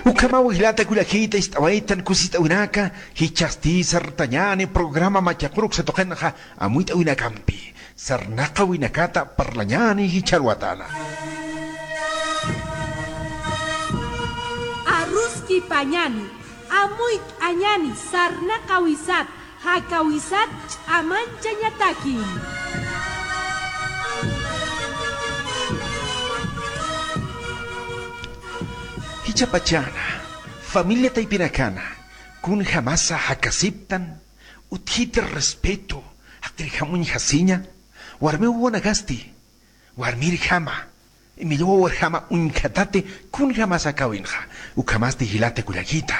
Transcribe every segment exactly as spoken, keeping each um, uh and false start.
Ukhamaw jilata kullakita ist'awaytan kusist'awinaka, jichhasti sartañäni programa Machaquruksa tuqinxa amuyt'awinakampi. Sarnaqawinakata parlañäni jichha alwatäna. Aruskipañäni, amuyt'añäni, sarnaqawisat, jakawisat ch'amanchañatakim. Jichhapachäna, familia taypinakana, kunjamasa jakasiptan, utjiti respeto, jaqirjam uñjasiña, warmiw wawanakasti, warmirjama, imillwawarjama uñjatati, kunjamasa jakawinxa, ukhamasti jilata kullakita,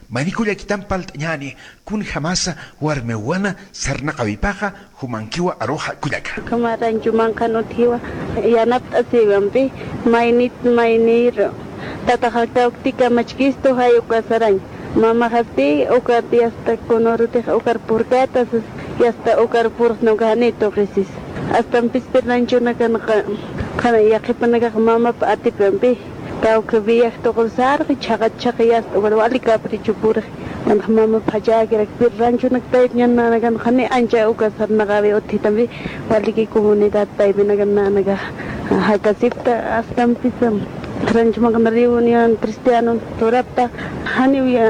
mayni kullakitan parlt'añäni, kunjamasa warmiwana sarnaqawipaxa, jumankiwa aruxa kullaka. Ukhama rancho manqhan utjiwa, yanapt'asiwampi, maynit, mayniru. Tataxa kawkti kamachkistu jay uka sarañ. Mamaxasti ukat yasta kunurutix ukar purkäta sas, yasta ukar purxna uka jani tuqisis. Astampis pirnanchunakanqa, qhana yaqhipanakax mamap atipampi. Kawkha viaje tuqur sarqi chhaqat chhaqi yasta ukat wali capricho purxi. Yanx mamap jachäkirak pir ranchunak taypñan nanakan qhani ancha uka sarnaqawi utjitampi. Waliki comunidad taypinakan nanakax jakasipta astampisa. Rancho manqhan reunión cristiano turapta, janiw ya,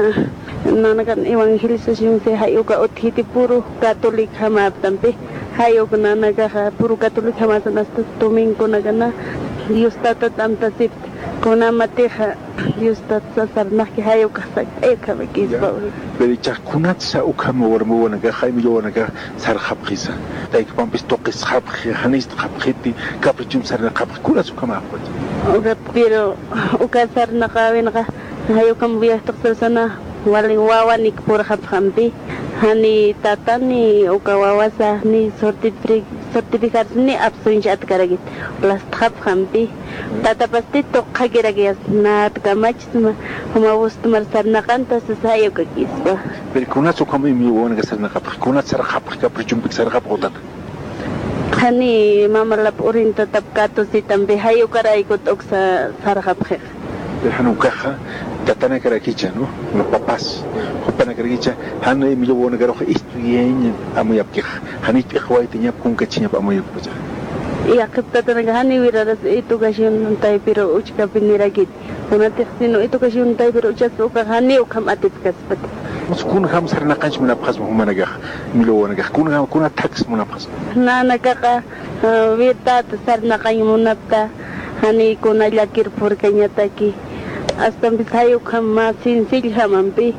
nanakan evangelización si jay uka utjiti puru católico jamaptampi, jay uka nanakaxa puru católico jamasan asta domingonakana Dios Tatat amtasipta, kunamatixa Dios Tatat sasarnaqki jay ukax sakt'ay ukhamakispa. Ya. Pero ichax kunatsa ukham warmi wawanakaxa, imillwawanakax sarxapxisa. Taykapampis tuqisxapxi, janistxapxiti, caprichump sarnaqapxi, kunas ukhamaxpacha. Ukat, pero uka sarnaqäwinxa, jay ukham viaje tuqsasana, wali wawanik purxapxampi, jani tatani uka wawasa, ni certifi-, certificarsi ni absenci atkarakit, lastxapxampi. Tatapasti tuqxakirak yasta, nat kamachisma, juma wustumar sarnaqanta sasa jay ukakispa. Pero kunats ukham imillwawanakax sarnaqapxi, kunats sarxapxi, caprichompik sarxapxi tata. Qhani mamalap urintatap katusitampi, jay ukaraykut uksa sarxapxixa. Pero jan ukaxa, tatanakarakicha, ¿no? Los papás, jupanakarakicha, jan imillwawanakaruxa estudiañ amuyapkixa, janich p'iqwaytañap, kunkachiñap amuyapkixa. Yaqhip tatanaka janiw wiraras educación taypiru uchkapi nirakit. Kunatix sino educación taypiru uchaspa ukax janiw ukham atipkaspati. Kunjam sarnaqañch munapxasma jumanakax, imillwawanakax, kunjam, kuna thaks munapxasma. Nanakaxa, ah, wirtata sarnaqañ munapta, jani kuna llakir purkañataki. Astampis jay ukham mä sencilljamampi,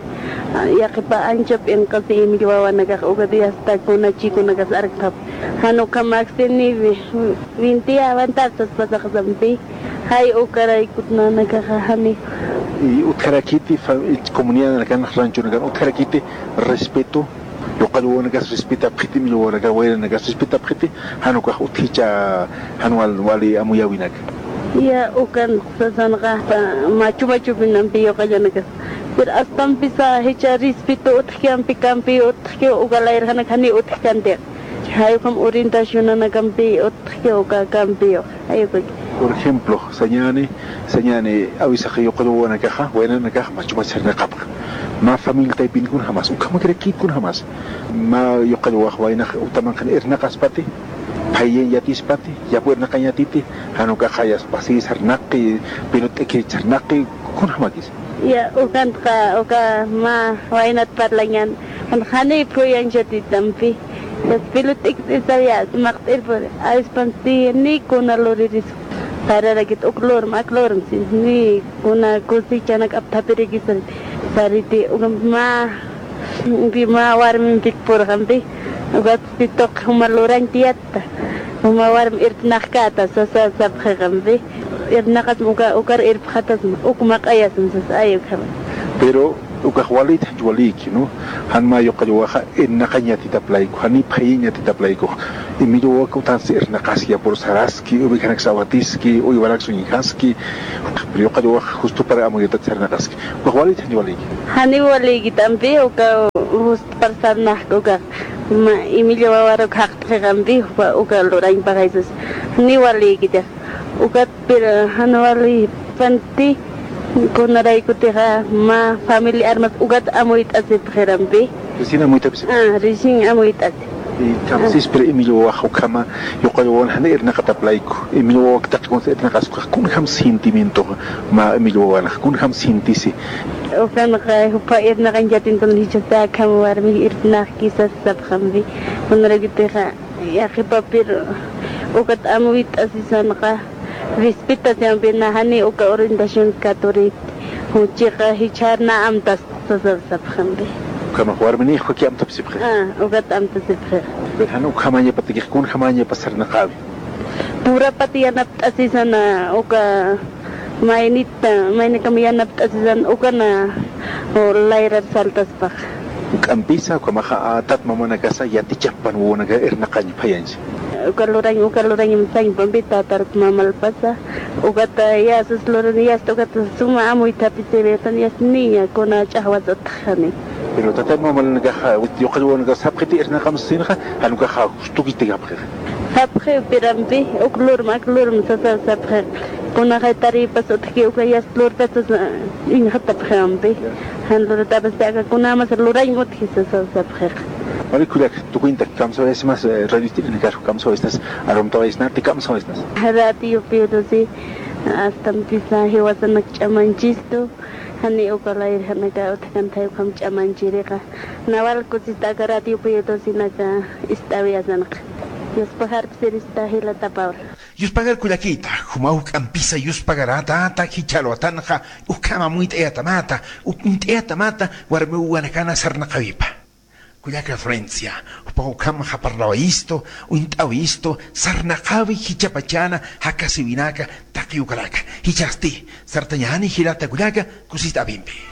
ah, yaqhipa ancha p'inqasi imillwawanakax ukat yasta kuna chikunakas arkxap. Jan ukham aksini wi-, winti awantar saspasaxsampi. Jay ukaraykut nanakaxa jani. Y utjarakiti fa-, comunidadanakan, ranchonakan, utjarakiti respeto, yuqallwawanakas respetapxiti, imillwawanakas, wayranakas respetapxiti, jan ukax utjicha, jan wal-, wali amuyäwinaka. Ya, ukan sasanxa, machu machupinampi yuqallanakas. Pero astampisa jichha respeto utjkampi, kampi utjki, uka layrjanak jani utjkanti. Jay ukham orientacionanakampi utjki uka kampiw, jay ukaki. Por ejemplo, sañäni, sañäni, awisax yuqallwawanakaxa, waynanakaxa, machu machar sarnaqapxa. Mä familia taypin kunjamas, ukhamakirakit kunjamas. Mä yuqallwax waynax uta manqhan irnaqaspati, phayiñ yatispati, yapu irnaqañ yatiti, jan ukaxa yaspasi sarnaqi, pelota t'ikirich sarnaqi, kunjamakis. Ya, ukantxa, uka mä waynat parlañän, jan jani phuyañchatitampi. Yas pelota t'ikirich sar yas maqt'ir puri, awispanti ni kuna luriris. Sararakit uk lurm, ak lurm, si, ni kuna cosechanak apthapirakis sar-, sariti, uka mä, pi mä warmimpik purxampi, ukatsti tuq juma lurañ tiyatta, juma warm irpnaxkäta, sasa sapxiqampi, irpnaqasma uka, ukar irpxatasma, uk maq'ayasma, sasa, ay, ukhama. Pero ukax walït, janch walïki, ¿no? Jan mä yuqallwaxa irnaqañ yatitap layku, jani phayiñ yatitap layku. Imillwawak utansti irnaqaski, yapur saraski, ovejanak sawatiski, uywanak suñjaski, pero yuqallwax justupar amuyutat sarnaqaski. Ukax walït, janch walïki. Janiw walïkitampi, uka justupar sarnaqki, ukax mä imillwawaruk jaqtxiqampi, uka, uka lurañ paxaysas. Janiw walïkita. Ukat, pero jan wali panti, Kunaraykutixa mä familiarmas ukat amuyt'asipxirampi. Recién amuyt'apisi. Ah, recién amuyt'asi. Kamsispir Emilio wawax ukhama, yuqalluwan jani irnaqataplayku. Emilio wawak taqi kunsa irnaqaskuxa, kunjam sentimientoxa mä Emilio wawanxa, kunjam sentisi. Ukanxa jupha irnaqañ yatintun jichhasta akham warmi irnaqkisas sapxampi. Kunaraykutixa yaqhipapir ukat amuyt'asisanxa, respetacionpi na jani uka orientación católica, juchiqa jichhar na amtas sasar sapxampi. Ukhamax warminix ukhaki amtapsipxi. Ah, ukat amtasipxi. Jan ukhamañapatakix kunjamañapas sarnaqawi. Purapat yanapt'asisana uka maynita, maynakam yanapt'asisan ukana, o, layrar saltaspax. Ukampisa, ukhamaxa, ah, tat mamanakasa yatichapan wawanaka irnaqañ phayañsa. Uka lurañ, uka lurañ sañpampi tatar mamalpasa. Ukata yasas luran, yasta ukata suma amuyt'apisirïtan, yasta niña kuna ch'axwasatxani. Pero tata mamalnakaxa, yuqalluwanakax sapxiti irnaqamsinxa, jan ukaxa justukitikapxixa. Sapxi pirampi, uk lurm, ak lurm sasa sapxi. Kunaxay taripas utjki uka yasta lurpasas, ah, inxatapxi ampi. Ya. Jan lurtapasti aka kunamas lurañ utji sasa sapxi. Wali kullaka, tukuynta kamsawayasimas, eh, radio ist'irinakar kamsawaysnas, arumtawaysnati kamsawaysnas. Radio Pío doce, astampisa jiwasanak ch'amanchistu, jani uka layr janaka utjkanthay ukham ch'amanchirixa. Nawal kusista aka Radio Pío doce naka ist'awiyasanxa. Yuspagarpsirista jilata Paula. Yuspagar kullakita, juma juk'ampisa yuspagarätata jichha alwatanxa, ukham amuyt'ayatamata, uñt'ayatamata, warmi wawanakana sarnaqawipa. Kullaka Florencia, jupax ukhamxa parlawayistu, uñt'awayistu, sarnaqawi jichhapachana jakasiwinaka taqi ukaraka. Jichhasti, sartañäni jilata kullaka, kusist'apimpi.